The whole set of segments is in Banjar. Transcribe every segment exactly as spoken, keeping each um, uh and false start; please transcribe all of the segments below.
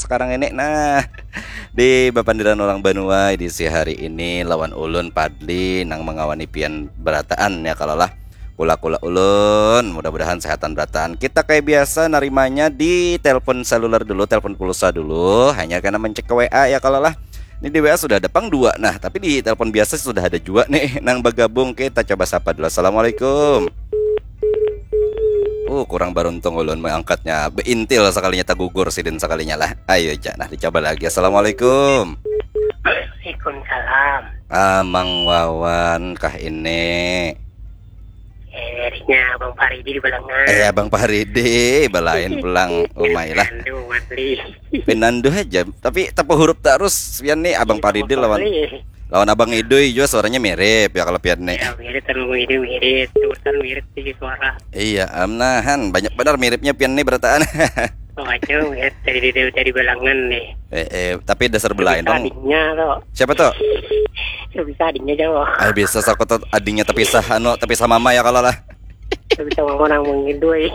sekarang ini. Nah, di bapandiran orang banua edisi hari ini lawan ulun Padli nang mengawani pian berataan ya kalau lah. Kula-kula ulun, mudah-mudahan sehatan berataan. Kita kayak biasa narimanya di telepon seluler dulu, telepon pulsa dulu. Hanya kena mencek ke W A ya kalau lah. Ini di W A sudah ada pang dua. Nah, tapi di telepon biasa sudah ada juga nih nang bergabung. Kita coba sapa dulu. Assalamualaikum. Uh, kurang beruntung ulun mengangkatnya. Beintil sekalinya, tagugur sidin sekalinya lah. Ayo, cak. Nah, dicoba lagi. Assalamualaikum. Waalaikumsalam. Amang Wawan kah ini? Eh, harinya Abang Paridi di Balangan. Eh, Abang Paridi, balain pulang umai lah. Pinandu, Matli. Pinandu aja, tapi tapa huruf terus. Pian nih Abang Paridi lawan lawan Abang Idui juga suaranya mirip ya kalau pian nih. Ya, mirip kan, Abang Idui mirip. Tulisan mirip sih suara. Iya, amnahan banyak benar miripnya pian nih berataan. Oh, aja mirip dari dari dari Balangan nih. Eh, eh, tapi dasar belain Bisa dong. Adiknya tuh. Siapa tuh? Bisa adiknya jauh. Ah, bisa sakut tuh adiknya tapi sah anu tapi sah mama ya kalau lah. Bisa mama nang mengidui.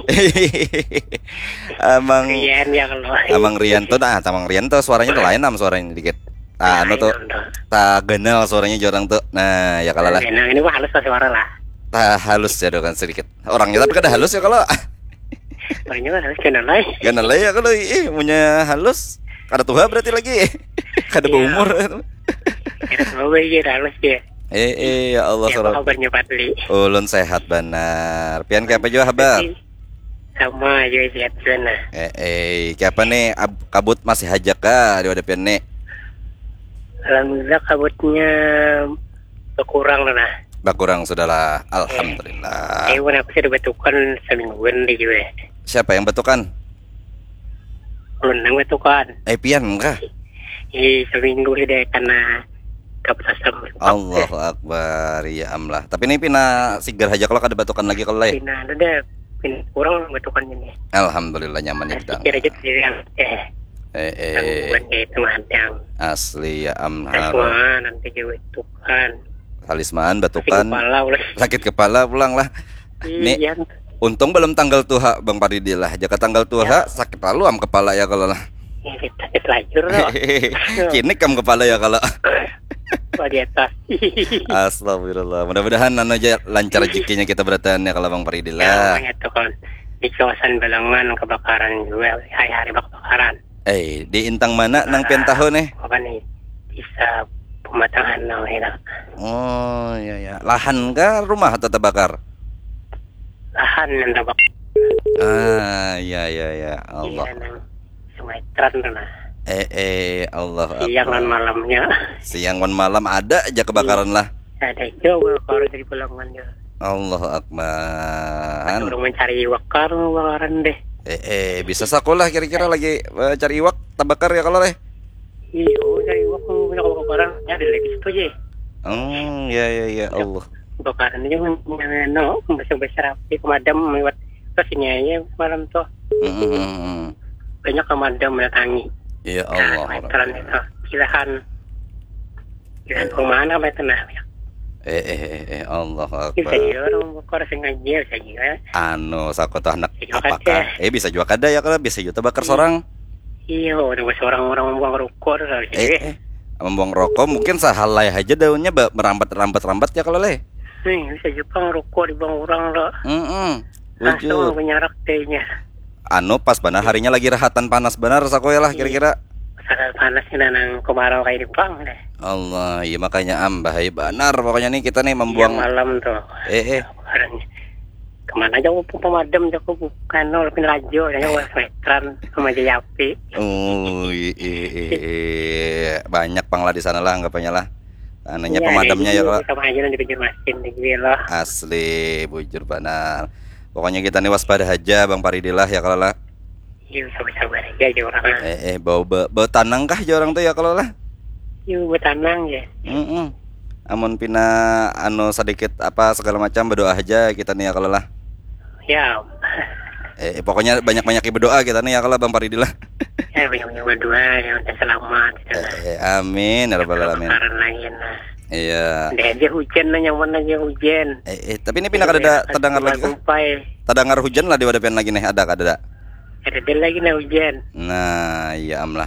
Amang Rian ya kalau. Amang Rian tuh nah, Amang Rian tuh suaranya tuh lain am suaranya dikit. Ah, anu tuh. Lain tuh. Tak ganal suaranya jorang tuh. Nah, ya kalau lah. Nah, ini mah halus lah suara lah. Tak halus ya dong sedikit. Orangnya tapi kada halus ya kalau. Orangnya mah halus ganal lah. Ganal lah ya kalau ih punya halus. Kada tua berarti lagi. Kada iya. Berumur. Kada tua lagi halus ya. Eh, eh, ya Allah. Apa kabarnya Patli? Ulun sehat benar. Pian kayak apa juga habar? Sama juga sehat sana. Eh, eh, kayak apa nih? Ab, kabut masih hajak kah di wadah pian nih? Alhamdulillah kabutnya berkurang lah. Berkurang sudahlah. Alhamdulillah. Eh, aku sudah batukan semingguan deh juga. Siapa yang batukan? Ulun nang batukan. Eh, pian kah? Ih, seminggu sudah kena kabut asam. Allahu Akbar, ya amlah. Tapi ini pina sigar aja kalau kada batukan lagi kalau eh. Pina ada pina kurang batukan ini. Alhamdulillah nyaman ya. Nah, kita. Pikir aja sih yang eh. Eh, eh. Bukan kayak itu madang. Asli ya amlah. Semua nanti juga batukan. Talisman batukan. Sakit kepala ulah. Sakit kepala pulang lah. Nih, iya. Untung belum tanggal tuha Bang Paridi lah. Jaka tanggal tuha ya. Sakit lalu am kepala ya kalau lah. Ya, sakit lajur loh. Kini kam kepala ya kalau. Wah, di atas. Astagfirullah. Mudah-mudahan anu aja lancar rezekinya kita berataan ya kalau Bang Paridi lah. Ya, itu kan di kawasan Balangan kebakaran juga. Hari-hari kebakaran. Eh, di intang mana nang pian tahu nih? Apa nih? Bisa pematang hanau ya. Oh, iya ya. Lahan kah rumah atau terbakar? Lahan yang terbakar. Ah, iya iya iya. Allah. Iya, nang Sumatera tuh nah. Eh eh Allah. Siang dan malamnya. Siang dan malam ada aja kebakaran lah. Ada juga kalau dari Balangan ya. Allahu Akbar. Ada orang mencari wakar kebakaran deh. Eh eh bisa sakulah kira-kira lagi eh, cari iwak terbakar ya kalau deh. Iya, cari iwak tuh banyak kebakaran. Ya ada lagi situ aja. Hmm, ya ya ya Allah. Kebakaran aja no, besar besar api pemadam lewat terus ini aja malam tuh. Hmm, hmm, hmm. Banyak pemadam mendatangi. Ya Allah. Nah, itu. Silahan. Silahan ke mana apa itu nah? Eh eh eh eh Allah Akbar. Bisa juga orang bukor sengaja bisa juga. Anu sakoto anak apakah? Eh bisa juga kada ya kalau bisa juga bakar seorang. Iya, udah seorang orang membuang rokok tuh harus eh, eh. Membuang rokok mungkin sehalai aja daunnya merambat-rambat-rambat ya kalau leh. Nih, bisa Jepang rokok dibuang orang lo. Mm -mm. Langsung menyarak tehnya. Anu pas benar harinya lagi rahatan panas benar saku ya lah kira-kira. Sangat panas ini nang kemarau kayak di Jepang deh. Allah, iya makanya am bahaya benar pokoknya nih kita nih membuang. Iya, malam tuh. Eh eh. Kemarin kemana aja aku pemadam aku bukan nol pin lajo ya aku meteran sama aja api. Oh iya iya iya banyak pang lah di sana lah anggapannya lah. Anaknya iya, pemadamnya ya kalau sama aja di pinggir masjid di gue loh. Asli bujur benar. Pokoknya kita nih waspada aja Bang Paridi lah ya kalau lah. Iya sabar-sabar aja aja orang. Eh eh bau bau, bau tanang kah aja orang tuh ya kalau lah. Iya bau tanang ya. Mm -mm. Amun pina anu sedikit apa segala macam berdoa aja kita nih ya kalau lah. Ya. Eh, pokoknya banyak-banyak berdoa kita nih ya kalau Bang Paridi lah. Ya banyak-banyak berdoa ya udah selamat. Gitu. Eh, eh, amin ya rabbal alamin. Lagi, nah. Iya. Dia aja hujan nah nyaman aja hujan. Eh, eh tapi ini pindah kada ada terdengar lagi kah? Terdengar hujan lah di wadapian lagi nih ada kada? Ada lagi nah hujan. Nah, iya amlah.